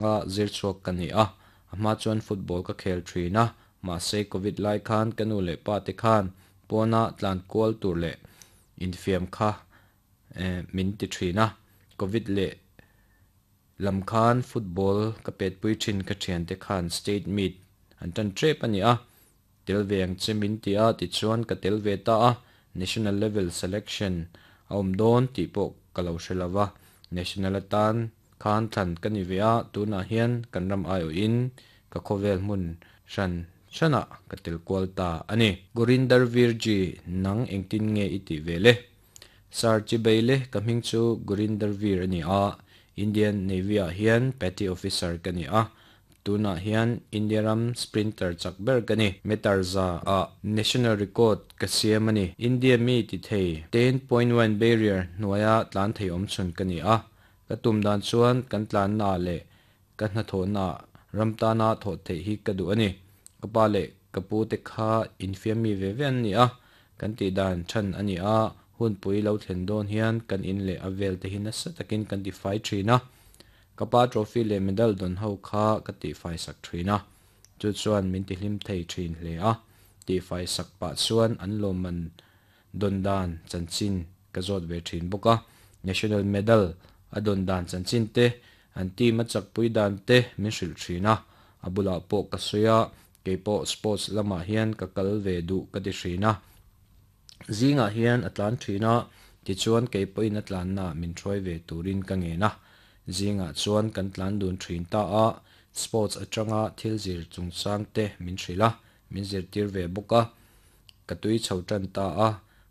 Nga zir chhuak ka ni a, a hma chuan football ka khel thin a, mahse covid lai khan ka nu leh pa te khan pawna tlan kual tur leh infiam kha min ti thin a, covid leh lam khan football ka pet pui thin ka thiante khan state meet an tan tep a ni a, Tel ve ang che min ti a, tichuan ka tel ve ta a, National level selection a awm dawn tih pawh ka lo hre lo va, National atan khan thlan ka ni ve a, tunah hian kan ram aiawhin ka khawvel hmun hran hranah ka tel kual ta a ni. Gurinder Virji, nang engtin nge i tih ve le? Sir Chibeile, ka hming chu Gurinder Vir a ni a, Indian Navy-ah hian Petty Officer ka ni a, Tunah hian India ram sprinter chak ber ka ni. Meter za ah national record ka siam a ni. India mi ti thei 10.1 barrier hnuaia tlan thei awm chhun ka ni a. Ka tum dan chuan kan tlanna ah leh ka hnathawhna ah ram tana thawh theih hi ka duh a ni. Ka pa leh ka pu te kha infiam mi ve ve an ni a. Kan tih dan than a ni a, hunpui lo thlen dawn hian kan in leh a vel te hi nasa takin kan tifai thin a. Ka pa trophy leh medal dawn ho kha ka tihfai sak thin a, chu chuan min tihlim thei thin hle a. Tihfai sak pah chuan an lawmman dawn dan chanchin ka zawt ve thin bawk a. National medal a dawn dan chanchin te, an team a chakpui dan te min hrilh thin a. A bulah pawh ka sawi a, keipawh sports lamah hian ka kal ve duh ka ti thin a. Zingah hian a tlan thin a, tichuan kei pawhin a tlanna min hruai ve turin ka ngen a. Zingah chuan kan tlan dun thin ta a, sports atanga thil zir chungchang te min hrilh a, min zirtir ve bawk a. Ka tui chho tan ta a,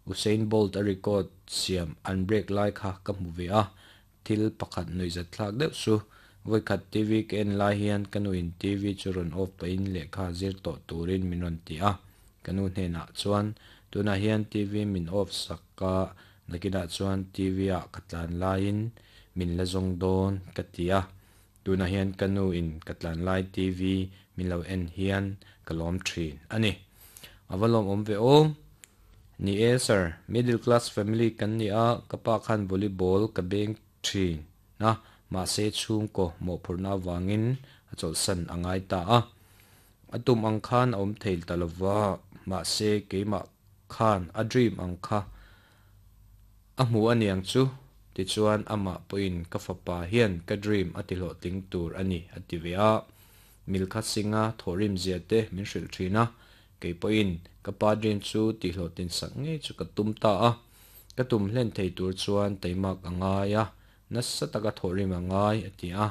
Usain Bolt a record siam an break lai kha ka hmu ve a, thil pakhat nuihzat thlak deuh chu. Vawikhat TV ka en lai hian ka nuin TV chu rawn off pahin lehkha zir tawh turin min rawn ti a. Ka nu hnenah chuan, Tunah hian TV min off sak a, nakinah chuan TV ah ka tlan laiin min la zawng dawn ka ti a. Tunah hian ka nu in ka tlan lai TV min lo en hian ka lawm thin a ni. A va lawmawm ve aw. Ni e sir, middle class family kan ni a, ka pa khan volleyball ka beng thin a, mahse chhungkaw mawhphurhna avangin a chawlhsan a ngai ta a. A tum ang khan a awm thei ta lova, mahse keimah khan a dream ang kha a hmu a niang chu, tichuan amah pawhin ka fapa hian ka dream a ti hlawhtling tur a ni a ti ve a. Milkha Singh-a thawhrim zia te min hrilh thin a, kei pawhin ka pa dream chu tih hlawhtlin sak ngei chu ka tum ta a. Ka tum hlen thei tur chuan teimak a ngai a, nasa taka thawhrim a ngai a ti a.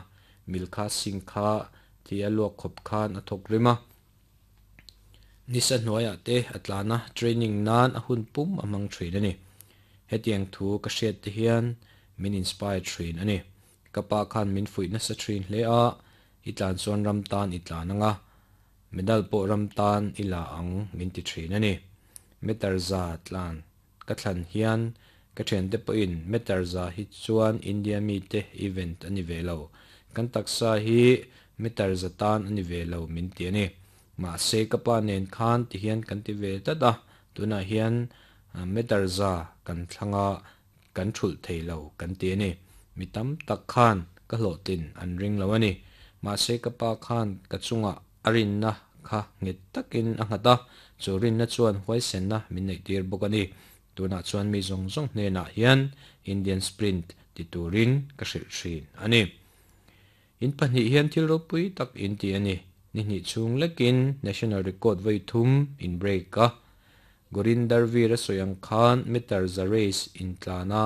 Milkha Singh kha thi a luak khawp khan a thawk rim a. Nisa hnuaiah te a tlan a, training nan a hun pum a hmang thin a ni. Hetiang thu ka hriat te hian min inspire thin a ni. Ka pa khan min fuih nasa thin hle a, i tlan chuan ram tan i tlan ang a, medal pawh ram tan i la ang min ti thin a ni. Meter za tlan ka thlan hian ka thiante pawhin meter za hi chuan India mite event a ni ve lo, kan taksa hi meter za tan a ni ve lo min ti a ni. Mahse ka pa nen khan ti hian kan ti ve tlat a, tunah hian meter za kan thlang a, kan thulh thei lo kan ti a ni. Mi tam tak khan ka hlawhtlin an ring lo a ni. Mahse ka pa khan ka chungah a rinna kha nghet takin a nghat a, chu rinna chuan huaisenna min neihtir bawk a ni. Tunah chuan mi zawng zawng hnenah hian Indian Sprint ti turin ka hrilh thin a ni. In pahnih hian thil ropui tak in ti a ni. Ni hnih chhung lekin National Record vawi thum in break a. Gurinder Veer a sawi ang khan meter za race in tlan a,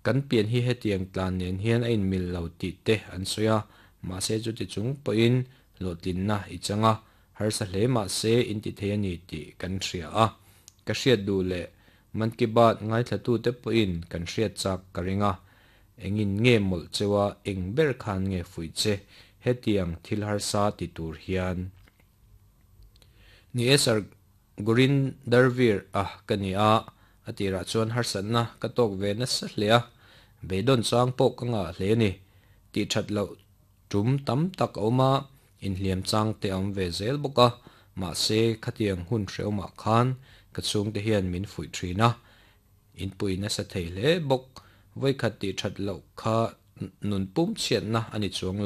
kan pian hi hetiang tlan nen hian a inmil lo tih te an sawi a, mahse chuti chung pawhin hlawhtlinna i chang a, harsa hle mahse in ti thei a ni tih kan hria a. Ka hriat duh leh Mann Ki Baat ngaithlatute pawhin kan hriat chak ka ring a, Engin nge mawlh cheu a, eng ber khan nge fuih che hetiang thil harsa ti tur hian? Ni e Sir, Gurinder Veer a ka ni a, a tirah chuan harsatna ka tawk ve nasa hle a, beidawn chang pawh ka ngah hle a ni. Tih that loh tum tam tak a awm a, inhliam chang te a awm ve zel bawk a, mahse khatiang hun hrehawmah khan ka chhungte hian min fuih thin a, Inpui nasa thei hle bawk. Vawikhat tih that loh kha Nun pum chhiatna a ni chuang lo.